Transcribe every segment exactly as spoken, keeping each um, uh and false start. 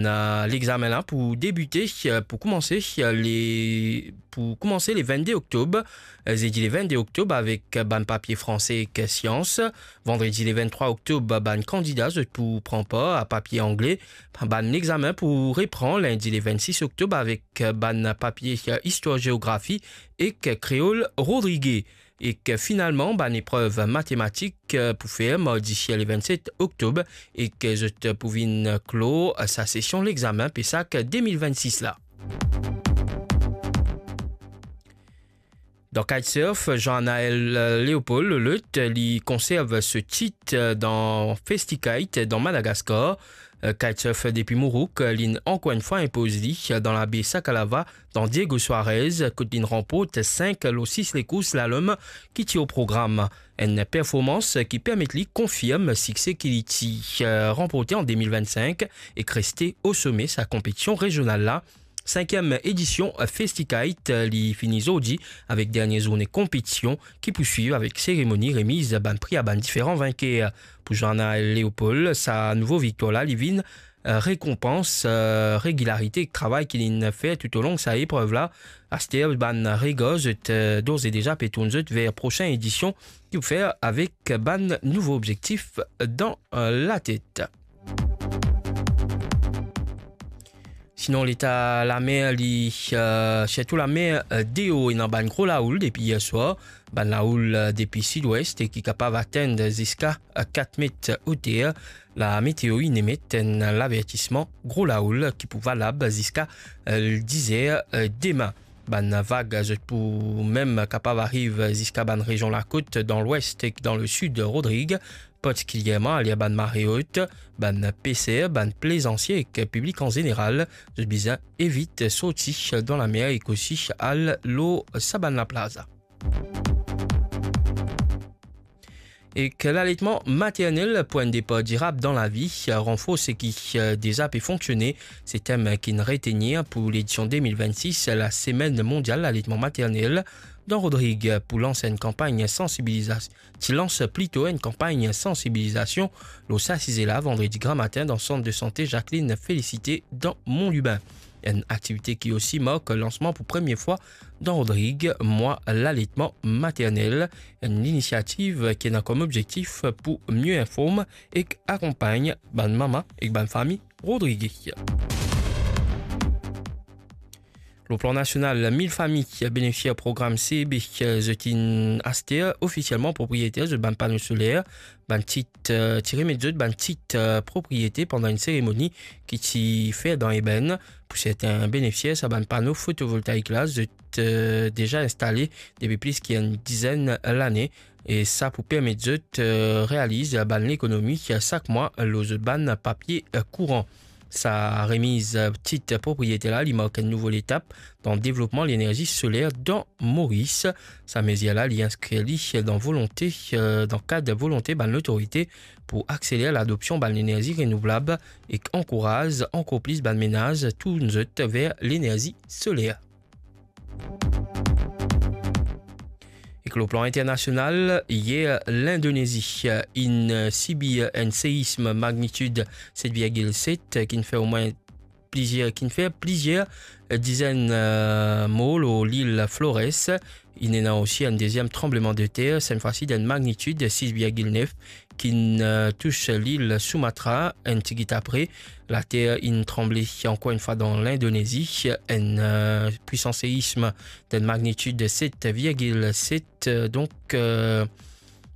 Ena lexamen la pou debite, eh, pou koumanse, eh, le, pou koumanse le vennde oktob, eh, zedi le vennde oktob avek bann papie franse ek sians. Vandredi le venntrwa oktob, bann kandida zot pou pran par a papie angle. Bann lexamen pou repran lindi le vennsis oktob avek bann papie, eh, istwar geografi ek kreol rodrige. Ek finalman, bann eprev matematik, eh, pou fer mardi le vennset oktob, ek zot pou vinn klor sa sesion lexamen PESAC de mil vennsis la. Dan kitesurf, Jean-Anaël Léopold Lelot, li konserv so tit dan Festikite dan Madagaskar. Kitesurf depi Mourouk, linn ankor enn fwa inpoz li dan labe Sakalava, dan Diego Suarez, kot linn ranport sink lor sis lekours lalom ki ti o program. Enn performans ki permet li konfirm sikse ki li ti, eh, ranporte an de mil vennsenk ek reste o some sa konpetision rezional la. Sinkiem edision Festikite, eh, li fini zordi avek dernie zourne konpetision ki pou swiv avek seremoni remiz bann pri a bann diferan vinker. Pou Jean-Anaël Léopold, sa nouvo viktwar la, li vinn, eh, rekonpans, eh, regilarite ek travay ki linn fer toutolong sa eprev la. Aster, bann regar zot, eh, dores e deza pe tourn zot ver prosin edision ki pou fer avek bann nouvo obzektif dan, eh, latet. Sinon, leta lamer, li, eh, sirtou lamer, eh, Deo, ena bann gro laoul depi yer swar. Bann laoul, eh, depi sidwes e ki kapav atenn ziska, eh, kat met oter. Lameteo inn emet enn lavertisman gro laoul ki pou valab ziska, eh, diz er, eh, demin. Bann vag, zot pou mem kapav ariv ziska bann rezion lakot dan lwes ek dan lesid Rodrig, partikilierman aler bann mare ot. Bann peser, bann plezansie ek piblik an zeneral, zot bizin evit sorti dan lamer ek osi al lor sa bann laplaz. Ek laletman maternel pou enn depar dirab dan lavi, ranforse ki, eh, deza pe fonksione, se tem ki'nn retenir pou ledision de mil vennsis Lasemenn Mondial Laletman Maternel. Dan Rodrig, pou lans enn kanpagn sansibiliza-, ti lans plito enn kanpagn sansibilizasion lor sa size la vandredi gramatin dan sant de sante Jacqueline Félicité dan Mont Lubin. Enn aktivite ki osi mark lansman pou premie fwa dan Rodrig, mwa laletman maternel, enn linisiativ ki ena kom obzektif pou mie inform ek akonpagn bann mama ek bann fami Rodrig. Lor plan nasional, mil fami benefisier program C E B, zot inn aster ofisielman propriyeter zot bann pano soler. Bann tit, eh, ti remet zot bann tit, eh, propriyete pandan enn seremoni ki ti fer dan Ebène. Pou sertin benefisier, sa bann pano fotovoltaik la, zot, eh, deza instale depi plis ki enn dizenn lane, e sa pou permet zot, eh, realiz bann lekonomi sak mwa lor zot bann papie, eh, kouran. Sa remiz, eh, tit propriyete la, li mark enn nouvo letap dan devlopman lenerzi soler dan Moris. Sa mezir la, li inskrir li dan volonte, eh, dan kad volonte bann lotorite pou akseler ladopsion bann lenerzi renouvlab ek ankouraz ankor plis bann menaz tourn zot ver lenerzi soler. Ek lor plan internasional, yer, Lindonezi inn sibir enn seism magnitid set virgil set, ki'nn fer omwin plizier, ki'nn fer plizier dizenn, eh, mor lor lil Flores. Inn ena osi enn deziem tranblemandeter, set fwa si dan magnitid sis virgil nef, ki'nn, eh, tous lil Sumatra enn tigit apre. Later inn tranble ankor enn fwa dan Lindonezi, enn, eh, pwisan seism dan magnitid set virgil set, eh, donk, eh,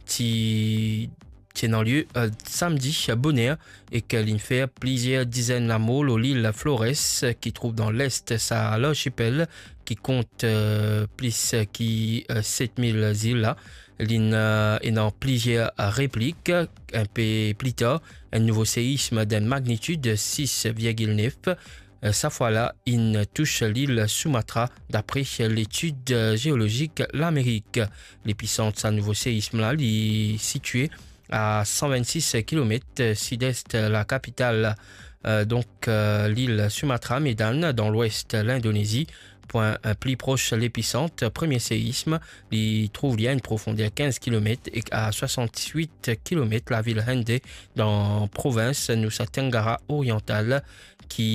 ti, ti ena lie, eh, samdi boner, ek linn fer plizier dizenn lamor lor lil Flores, ki trouv dan lest sa lartipel, ki kont, eh, plis ki, eh, set mil zil la. Linn, eh, ena plizier replik. Inpe pli tar, enn nouvo seism dan magnitid sis virgil nef, eh, sa fwa la, inn tous lil Sumatra, dapre Letid Zeolozik Lamerik. Lepisant sa nouvo seism la, li sitie a san vennsis kilomet sidest lakapital, eh, donk, eh, lil Sumatra, Medan, dan lwes Lindonezi. Pwin, eh, pli pros lepisant premie seism, li trouv li a enn profonder kinz kilomet ek a swasannwit kilomet lavil Hende, dan provins Nusa Tenggara Oriantal, ki